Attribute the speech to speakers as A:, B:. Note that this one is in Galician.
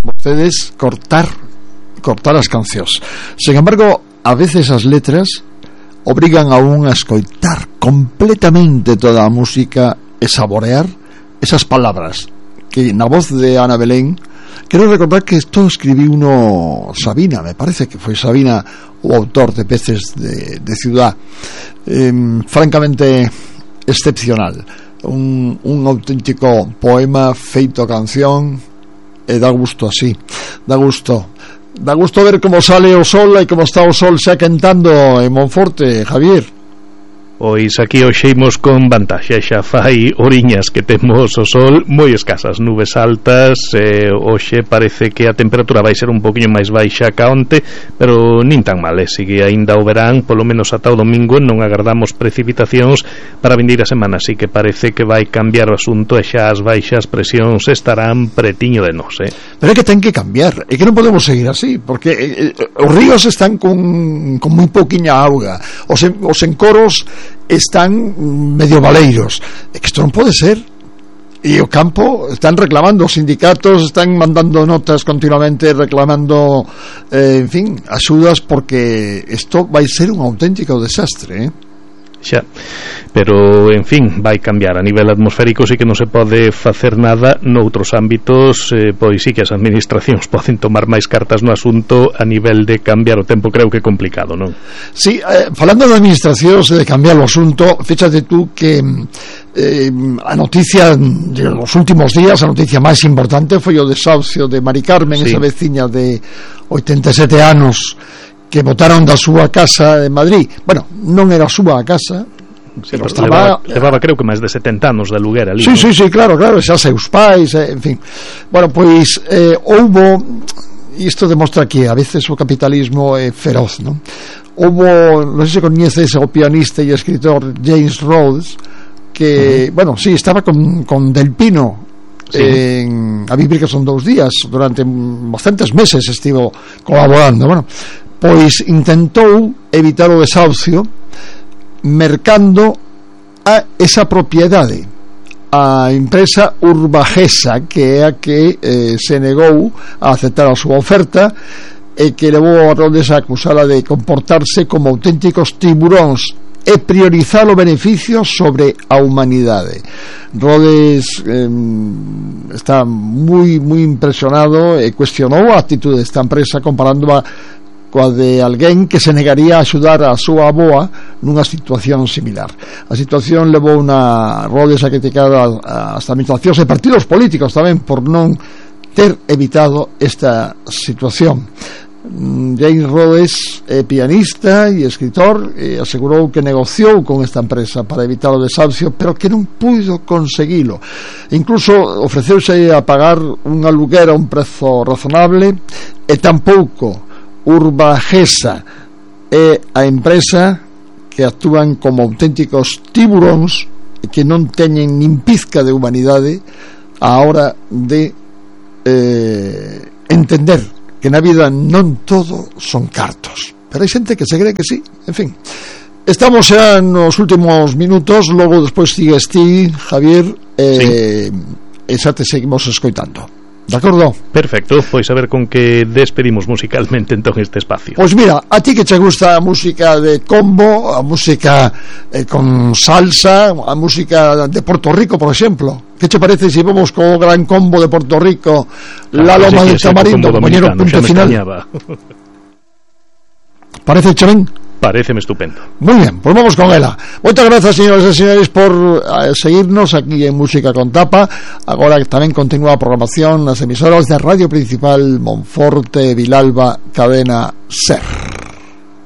A: vostedes cortar as cancións. Sen embargo, a veces as letras obrigan a un a escoitar completamente toda a música e saborear esas palabras que na voz de Ana Belén. Quero recordar que isto escribiu uno Sabina, me parece que foi Sabina o autor de Peces de Ciudad, francamente excepcional, un auténtico poema feito canción, e dá gusto así, dá gusto ver como sale o sol e como está o sol xa quentando en Monforte, Javier.
B: Pois aquí hoxe imos con vantaxe, xa fai oriñas que temos o sol moi escasas, nubes altas, hoxe parece que a temperatura vai ser un poquinho máis baixa ca onte, pero nin tan mal, sigue aínda o verán, polo menos ata o domingo non agardamos precipitacións para a vindeira semana, así que parece que vai cambiar o asunto e xa as baixas presións estarán pretiño de nós,
A: Pero é que ten que cambiar, é que non podemos seguir así, porque os ríos están con moi pouquiña auga, os encoros están medio baleiros, é que isto non pode ser, e o campo están reclamando, os sindicatos están mandando notas continuamente reclamando en fin, axudas, porque isto vai ser un auténtico desastre,
B: xa, pero en fin, vai cambiar a nivel atmosférico, sí que non se pode facer nada. Noutros ámbitos pois sí que as administracións poden tomar máis cartas no asunto. A nivel de cambiar o tempo creo que é complicado, non?
A: Sí, falando de administracións e de cambiar o asunto, fíxate tú que a noticia de los últimos días, a noticia máis importante foi o desahucio de Mari Carmen, sí, esa veciña de 87 anos que botaron da súa casa en Madrid. Bueno, non era a súa casa,
B: sí, pero estaba... levaba creo que máis de 70 anos de aluguer ali.
A: Sí, ¿no? Sí, claro, xa seus pais, en fin. Bueno, pois houbo, e isto demostra que a veces o capitalismo é feroz, non? Houbo, non sei se coñeces o pianista e escritor James Rhodes, que, bueno, sí, estaba con Del Pino, sí, a vivir, que son 2 días, durante bastantes meses estivo colaborando. Bueno, pois intentou evitar o desahucio mercando a esa propiedade a empresa Urbagesa, que é a que se negou a aceptar a súa oferta e que levou a Rhodes a acusala de comportarse como auténticos tiburóns e priorizar o beneficio sobre a humanidade. Rhodes está moi impresionado e cuestionou a actitude desta empresa comparándoa coa de alguén que se negaría a axudar a súa avoa nunha situación similar. A situación levou a Rhodes a criticar as administracións e partidos políticos tamén por non ter evitado esta situación. James Rhodes é pianista e escritor, e asegurou que negociou con esta empresa para evitar o desahucio, pero que non puido conseguilo. Incluso ofreceuse a pagar un aluguer a un prezo razonable, e tampouco Urbagesa é a empresa que actúan como auténticos tiburóns e que non teñen nin pizca de humanidade a hora de entender que na vida non todo son cartos, pero hai xente que se cree que sí. En fin, estamos xa nos últimos minutos, logo despois sigues ti, Javier, sí, e xa te seguimos escoitando. De acordo?
B: Perfecto, pois a ver con que despedimos musicalmente entón este espacio.
A: Pois mira, a ti que che gusta a música de combo, a música con salsa, a música de Puerto Rico, por exemplo, que che parece se vamos co gran combo de Puerto Rico, La Loma del Tamarindo, compañero, punto final? Parece che ben?
B: Pareceme estupendo.
A: Muy bien, pues vamos con ela. Moitas grazas, señoras e señores, por seguirnos aquí en Música con Tapa. Agora que tamén continúa a programación nas emisoras de Radio Principal Monforte, Vilalba, Cadena SER.